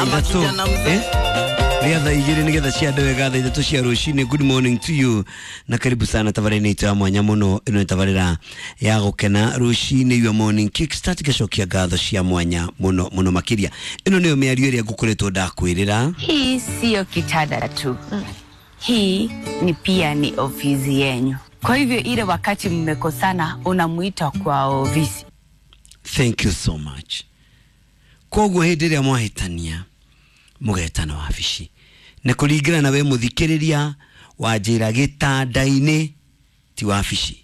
Ithatũ rĩa thaa 2 nĩgetha ciande wega thaa 3 cia rũcinĩ. Good morning to you na karibu sana tabarĩra-inĩ itũ ya mwanya mũno. Ĩno nĩ tabarĩra ya gũkena rũcinĩ, your morning kickstart. Ngacokia ngatho cia mwanya mũno mũno makĩria. Ĩno nĩyo mĩario ĩrĩa ngũkoretwo ndakwĩrĩra. Hii siyo kitanda tu, hii ni pia ni ofisi yenyu. Kwa hivyo ile wakati mmekosana, unamuita kwa ofisi. Thank you so much. Koguo hĩndĩ ĩrĩa mwahĩtania mũgetana wabici na kũringana na we mũthikĩrĩria wanjĩra gĩtanda-inĩ ti wabici.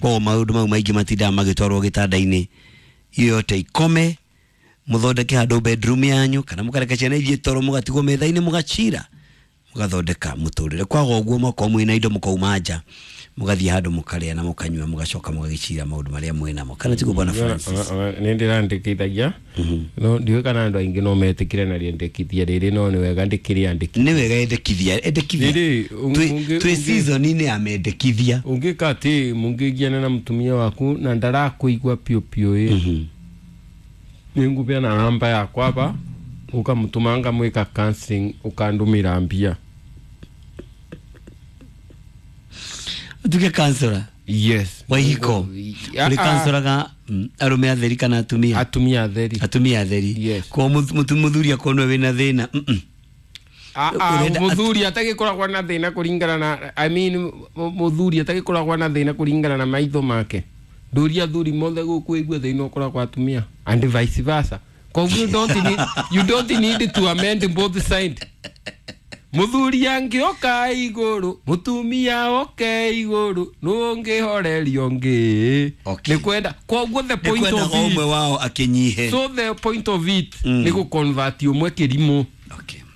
Koguo maũndũ mau maingĩ matindaga magĩtwarwo gĩtanda-inĩ. Iyo yote ikome, mũthondeke handũ bedroom yanyu kana mũkareka ciana ithiĩ toro, mũgatigwo metha-inĩ, mũgacira, mũgathondeka mũtũrĩre. Kwaga ũguo, mwakorwo mwĩna indo, mũkauma nja, mũgathiĩ handũ, mũkarĩa na mũkanyua, mũgacoka mũgagĩcira maũndũ marĩa mwĩnamo, kana tiguo, bwana Francis? Nä ndä randäkithagia no ndiå kana andå aingä no metä na rĩendekithia rĩrĩ, no nĩ wega ndĩkĩrĩandĩki. Nĩ wega, endekithia, endekithia. Rĩrĩ, Twĩ season-inĩ ya mendekithia. Ũngĩka atä mũngĩgiana na mũtumia waku na ndarakũigua piũ piũ ĩ, nĩ ngũbeana namba yakwa ba ũkamũtũma ngamwĩka counseling, ũkandũmĩra mbia. Ũtuĩke counselor? Yes. Wa ihiko? Ũrĩ counseloraga arũme atheri kana atumia? Atumia atheri. Atumia atheri? Yes. Kwa mũthuri akorwo nĩwe wĩna thĩna? Mũthuri atagĩkoragwo na thĩna kũringana na, I mean, mũthuri atagĩkoragwo na thĩna kũringana na maitho make. Ndũria athuri mothe gũkũ igua thĩna ũkoragwo atumia and vice versa. Koguo you don't need to amend both side. Mũthuri angĩoka igũrũ, mũtumia oke igũrũ, nũngĩhorerio ngĩ. Okay. Nĩ kwenda koguo the point nĩ kwenda of o it ũmwe wao akĩnyihe. So the point of it nĩ gũconvert ũmwe kĩrimũ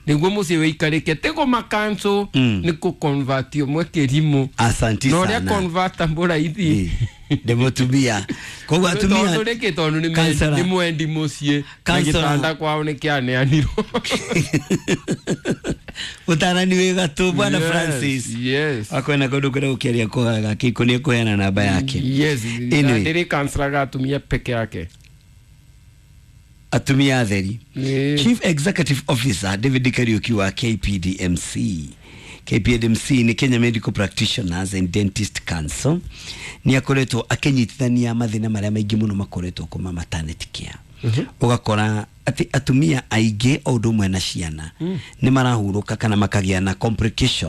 nĩguo mũciĩ wĩikarĩke, tĩ kũmakanco. Nĩ kũconvert ũmwe kĩrimũ. Asanti Na ũrĩa sana. Convertable raithi. Ndĩ mũtumia, koguo atumia tondũ rĩkĩ? Tondũ Counselor. nĩ mwendi mũciĩ na Counselor. gĩtanda kwao nĩ kĩaneanirwo. Ũtarani wĩ gatũ, bwana Yes, Francis. Yes. Akwena kũndũ kwenda gũkĩaria kũhaga kĩiko, nĩ ekũheana namba yake. Yes. Anyway. Ndĩrĩ kanselaga atumia peke yake. Atumia atheri. Chief Executive Officer David Kariuki wa KPDMC. KPDMC nĩ Kenya Medical Practitioners and Dentist Council. Nĩ akoretwo akĩnyitithania mathĩna marĩa maingĩ mũno makoretwo kuma maternity care. Ũgakora atĩ atumia aingĩ o ũndũ ũmwe na ciana nĩ marahurũka kana makagĩa na complication.